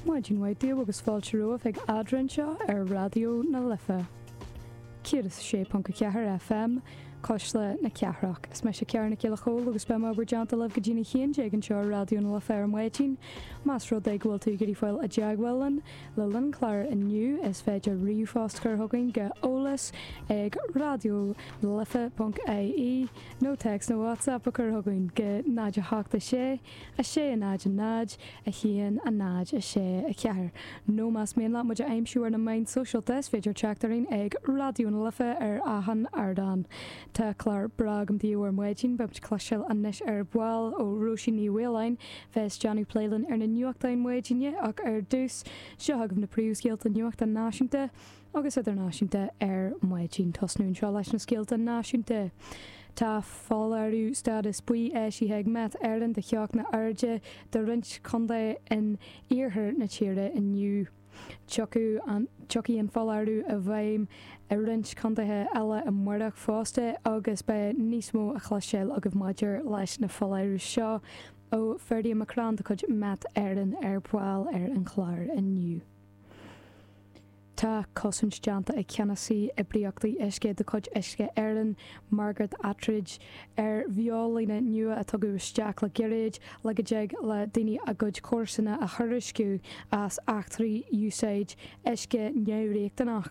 Maidin mhaith daoibh agus fáilte romhaibh chuig Eadrainn anseo ar Raidió na Life 106.4 FM, Cuisle na Cathrach. Is mise Ciara Nic Giolla Chóill agus beidh mé i bhur dteannta libh go dtí'n 11 anseo ar Raidió na Life ar maidin. Más rud é go bhfuil tú ag iarraidh fáil i dteagmháil linn le linn an chláir inniu is féidir ríomhphost a chur chugainn go eolas ag raidionalife.ie nó téacs nó WhatsApp a chur chugainn go 0 8 6 6 0 0 1 0 6 4. Nó más mian leat muid a aimsiú ar na meáin sóisialta is féidir teacht orainn ag Raidió na Life ar achan ardán. Tá clár breá agam daoibh ar maidin, beidh muid ag cloisteáil anois ar ball ó Róisín Ní Mhaoláin, bheas ag déanamh plé linn ar na nuachtáin maidine ach ar dtús, seo chugaibh na príomhscéalta nuachta náisiúnta agus idirnáisiúnta ar maidin. Tosnú anseo leis na scéalta náisiúnta. Tá foláireamh stádas buí eisithe ag Met Éireann do theochtaí arda do roinnt contae in iarthar na tíre inniu. Tiocfaidh an foláireamh i bhfeidhm i roinnt contaetha eile amárach fosta agus beidh níos mó a chloisteáil agaibh maidir leis na foláirimh seo ó Ferdia McCrann de chuid Met Éireann ar ball ar an chlár inniu. Tá cosaint déanta ag Ceannasaí Oibríochtaí Uisce de chuid Uisce Éireann, Margaret Attridge, ar bheolíne nua a tugadh isteach le gairid le go dtig le daoine a gcuid comharsana a thuairisciú as eachtraí úsáid uisce neamhriachtanach.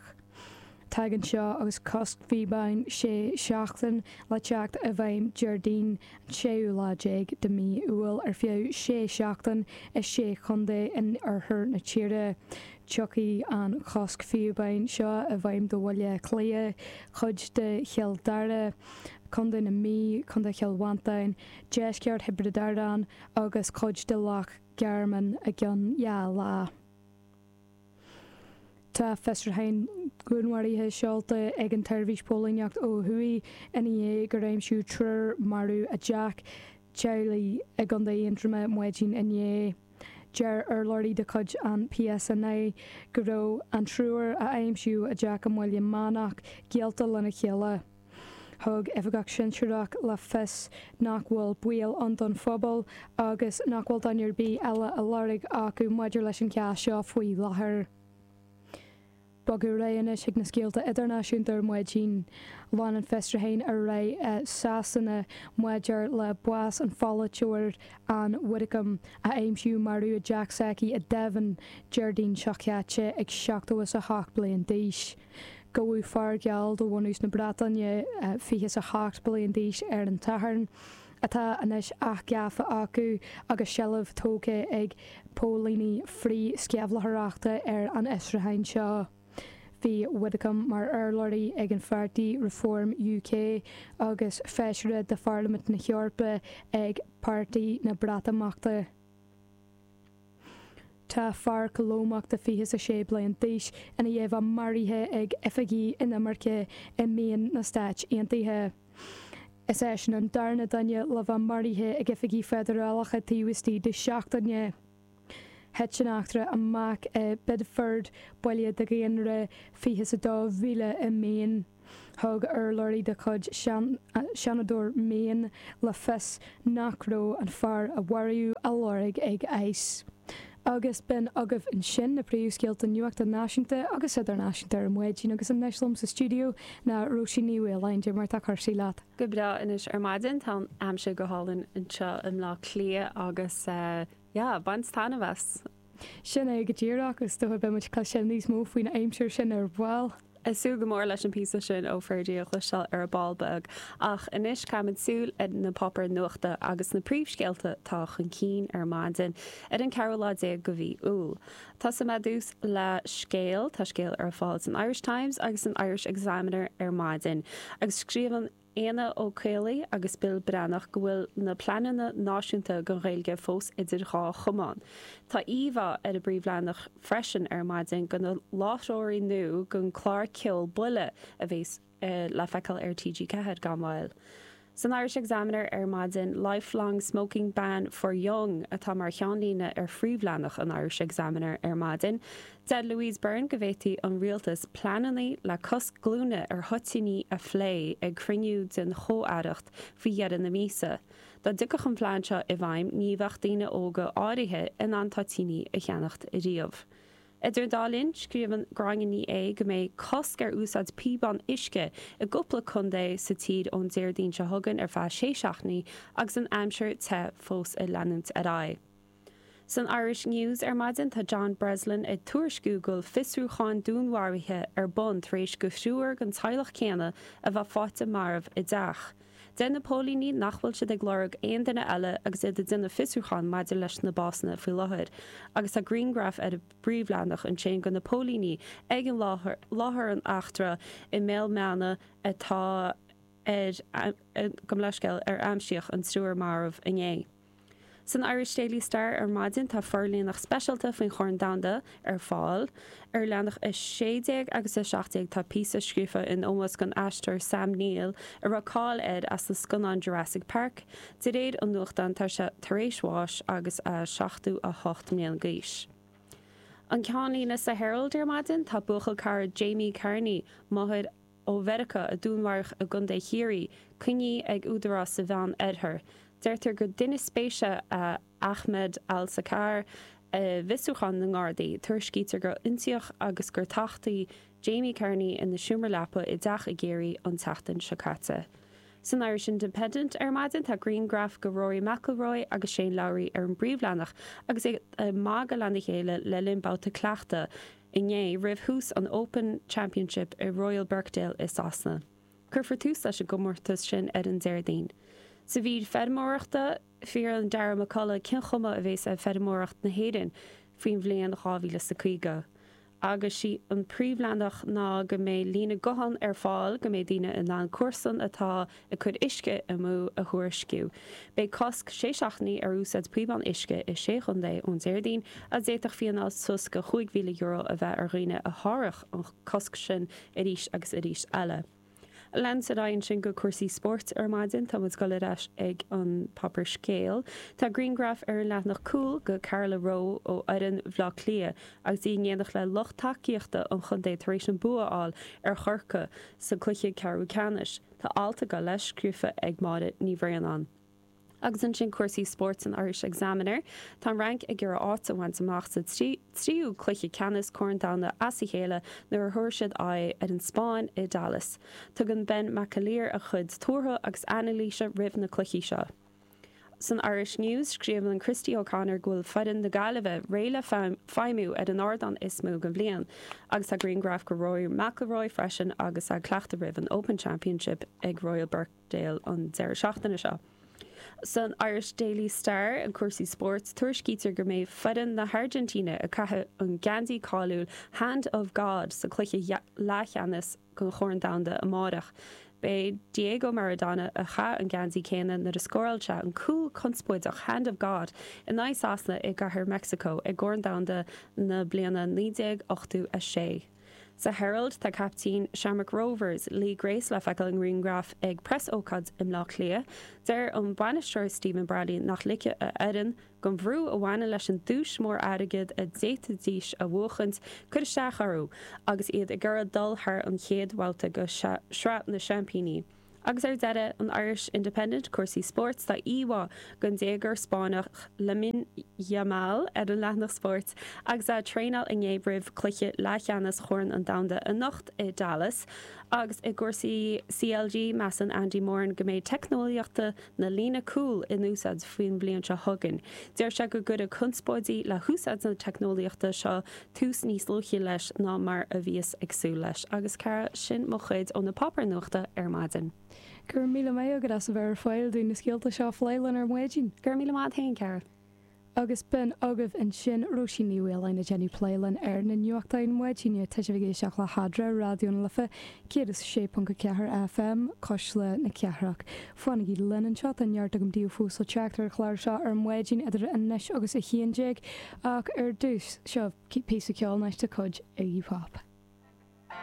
Tagann seo agus cosc faoi sé seachtain le teacht i bhfeidhm Déardaoin an séú lá déag de mhí Iúil ar feadh sé seachtain i sé chontae in oirthear na tíre. Tiocfaidh an cosc píobáin seo i bhfeidhm do Bhaile Átha Cliath, cuid de Chill Dara, Contae na Mí, Contae Chill Mhantáin, deisceart Thiobraid Árann agus cuid de Loch Garman i gceann 2 lá. Tá fiosrúchán dúnmharaithe seolta ag an tSeirbhís Póilíneachta ó thuaidh ina dhiaidh gur aimsíodh triúr marbh i dteach teaghlaigh i gContae Aontroma maidin inné. Deir urlabhraí de chuid an PSNI go raibh an triúr a aimsíodh i dteach i mBaile Meánach gaolta lena chéile. Thug oifigeach sinsearach le fios nach bhfuil baol ann don phobal agus nach bhfuil duine ar bith eile á lorg acu maidir leis an chás seo faoi láthair. Bogadh ar aghaidh anois chuig na scéalta idirnáisiúnta ar maidin. Lean an fiosrúchán ar aghaidh i Sasana maidir le bás an pholaiteoir Ann Widdecombe, a aimsíodh marbh i dteach s'aici i Devon, Déardaoin seo caite ag 78 bliain d'aois. Gabhadh fear geal de bhunús na Breataine, 28 bliain d'aois, ar an tSatharn, atá anois athghafa acu agus seilbh tógtha ag póilíní frith-sceimhlitheoireachta ar an fhiosrúchán seo. Bhí Widdecombe mar urlabhraí ag an pháirtí Reform UK agus feisire de Pharlaimint na hEorpa ag Páirtí na Breatimeachta. Tá fear Colómach de 26 bliain d'aois ina dhiaidh a bheith maraithe ag oifigigh inimirce i Maine na Stáit Aontaithe. Is eisean an darna duine le bheith maraithe ag oifigigh feidearálacha taobh istigh de seachtaine. Thit an eachtra amach i Biddeford, baile de dhaonra 22,000 i Maine. Thug urlabhraí de chuid Seanadóir Maine le fios nach raibh an fear a maraíodh á lorg ag ICE. Agus b'in agaibh ansin na príomhscéalta nuachta náisiúnta agus idirnáisiúnta ar maidin agus anois liom sa stiúideo ná Róisín Ní Mhaoláin. Cad é mar tá cúrsaí leat? Go breá anois ar maidin, tá an aimsir go hálainn anseo i mBleá Cliath agus yeah, baint taitneamh as. Sin é go díreach, is dócha beidh muid ag cloisteáil níos mó faoin aimsir sin ar ball. Ag súil go mór leis an píosa sin ó Ferdia a chloisteáil ar ball beag. Ach anois caithfimid súil ar na páipéir nuachta agus na príomhscéalta atá chun cinn ar maidin ar an ceathrú lá déag de mhí Iúil. Tosóidh mé ar dtús le scéal, tá scéal ar fáil san Irish Times agus san Irish Examiner ar maidin agus scríobhann Éanna Ó Caollaí agus Bill Breathnach go bhfuil na pleananna náisiúnta don Ghaeilge fós idir dhá chamán. Tá íomhá ar an bpríomhleathanach freisin ar maidin de na láithreoirí nua don chlár ceoil Buile a bheas le feiceáil ar TG4 gan mhoill. San Irish Examiner ar maidin, 'Lifelong smoking ban for young' atá mar cheannlíne ar phríomhleathanach an Irish Examiner ar maidin. Deir Louise Byrne go bhféadfaidh an rialtas pleananna le cosc glúine ar thoitíní a phlé ag cruinniú den chomh-aireacht faoi dheireadh na míosa. Dá dtiocfadh an plean seo i bhfeidhm ní bheadh daoine óga áirithe in ann toitíní a cheannacht riamh. Idir an dá linn, scríobhann Gráinne Ní Aodha go mbeidh cosc ar úsáid píobán uisce i gcúpla contae sa tír ón Déardaoin seo chugainn ar feadh sé seachtainí agus an aimsir te fós ag leanúint ar aghaidh. San Irish News ar maidin tá John Breslin ag tuairisciú go bhfuil fiosrúchán dúnmharaithe ar bun tar éis go thriúr den teaghlach céanna a bheith faighte marbh i dteach. Deir na póilíní nach bhfuil siad ag lorg aon duine eile agus iad ag déanamh fiosrúchán maidir leis na básanna faoi láthair agus tá grianghraf ar an bpríomhleathanach ansin de na póilíní ag an láthair láthair an eachtra i mBéal Meana atá ar gabh mo leithscéal ar aimsíodh an triúr marbh inné. San Irish Daily Star ar maidin tá forlíonadh speisialta faoin Chorn Domhanda ar fáil. Ar leathanach 16 agus 17 tá píosa scríofa in ómós don aisteoir Sam Neill a raibh cáil air as na scannáin Jurassic Park. De réir an nuachtáin tá sé tar éis bháis agus é 78 mbliana d'aois. An ceannlíne sa Herald ar maidin tá buachaill cara Jamie Carney, máthair, ó Mheiriceá a dúnmharaíodh i gContae Chiarraí, coinnithe ag údaráis sa Mheán Oirthear. Deirtear gur duine spéise é Ahmed Al Sakar i bhfiosrúchán na nGardaí. Tuairiscítear gur ionsaíodh agus gur tachtadh Jamie Carney ina seomra leapa i dteach i gCiarraí an tseachtain seo caite. San Irish Independent ar maidin tá grianghraf de Rory McIlroy agus Shane Lowry ar an bpríomhleathanach agus iad ag magadh lena chéile le linn babhta cleachtaidh. inné, roimh thús an Open Championship i Royal Birkdale i Sasana. Cuirfear tús leis an gcomórtas sin ar an Déardaoin. Sa mhír feirmeoireachta, fiafraíonn Darragh McCullough cén chuma a bhéas ar feirmeoireacht na hÉireann faoin bhliain 2050. Agus sí an príomhleathanach ná go mbeidh líne gutháin ar fáil go mbeidh daoine in ann comharsan atá ag cur uisce amú a thuairisciú. Beidh cosc sé seachtainí ar úsáid píobán uisce i sé chontae ón Déardaoin agus d'fhéadfadh fíneáil suas go €5,000 a bheith ar dhaoine a sháródh an cosc sin arís agus arís eile. Leanúint ar aghaidh ansin go cúrsaí spóirt ar maidin. Tá muid ag dul ar ais ag an páipéar Scéal. Tá grianghraf ar an leathanach cúil de Carla Rowe ó fhoireann Bhaile Átha Cliath agus í in éineacht le lucht tacaíochta an chontae tar éis an bua a fháil ar Chorcaigh sa cluiche ceathrú ceannais. Tá alt ag dul leis, scríofa ag Máire Ní Bhraonáin. Agus ansin cúrsaí spóirt san Irish Examiner. Tá an Fhrainc ag iarraidh áit a bhaint amach sa tríú cluiche ceannais Corn Domhanda as a chéile nuair a thabharfaidh siad aghaidh ar an Spáinn i Dallas. Tugann Ben McAleer a chuid tuartha agus anailíse roimh na cluichí seo. San Irish News, scríobhann Christy O'Connor go bhfuil foireann na Gaillimhe réidh le feidhmiú ar an ardán is mó den bhliain. Agus tá grianghraf de Rory McIlroy freisin agus é ag cleachtadh roimh an Open Championship ag Royal Birkdale an deireadh seachtaine seo. San Irish Daily Star, ag cúrsaí spóirt, tuairiscítear go mbeidh foireann na hAirgintíne ag caitheamh an geansaí cáiliúil 'Hand of God' sa cluiche leathcheannais den Chorn Domhanda amárach. B'é Diego Maradona a chaith an geansaí céanna nuair a scóráil sé an cúl conspóideach 'Hand of God' in aghaidh Sasana i gCathair Meicsiceo i gCorn Domhanda na bliana 1986. Sa Herald tá caiptín Shamrock Rovers, Lee Grace le feiceáil i ngrianghraf ag preasócáid i mBleá Cliath. Deir an bainisteoir Stephen Bradley nach ligfidh a fhoireann don bhrú a bhaineann leis an duais mór airgid a d'fhéadfaidís a bhuachaint cur isteach orthu agus iad ag iarraidh dul thar an chéad bhabhta de Shraith na Seaimpíní. Agus ar deireadh, an Irish Independent, cúrsaí spóirt, tá íomhá den déagóir Spáinneach Lamine Yamal ar an leathanach spóirt agus é ag traenáil inné roimh chluiche leathcheannais Chorn an Domhanda anocht i Dallas. Agus i gcúrsaí CLG, measann Andy Moran go mbeidh teicneolaíochta na líne cúil in úsáid faoin bhliain seo chugainn. Deir sé go gcuirfidh conspóidí le húsáid na teicneolaíochta seo tús níos luaithe leis ná mar a bhíothas ag súil leis. Agus cara, sin mo chuid ó na páipéir nuachta ar maidin. Go raibh míle maith agat as a bheith ar fáil dúinn na scéalta seo a phlé linn ar maidin. Go raibh míle maith agat féin, cara. Agus b'in agaibh ansin Róisín Ní Mhaoláin ag déanamh plé linn ar na nuachtáin maidine. Tá sibh ag éisteacht le hEadra, Raidió na Life 106.4 FM, Cuisle na Cathrach. Fanaigí linn anseo, tá neart agam daoibh fós le teacht ar an chlár seo ar maidin idir anois agus 11 ach ar dtús, seo píosa ceoil anois de chuid Iggy Pop.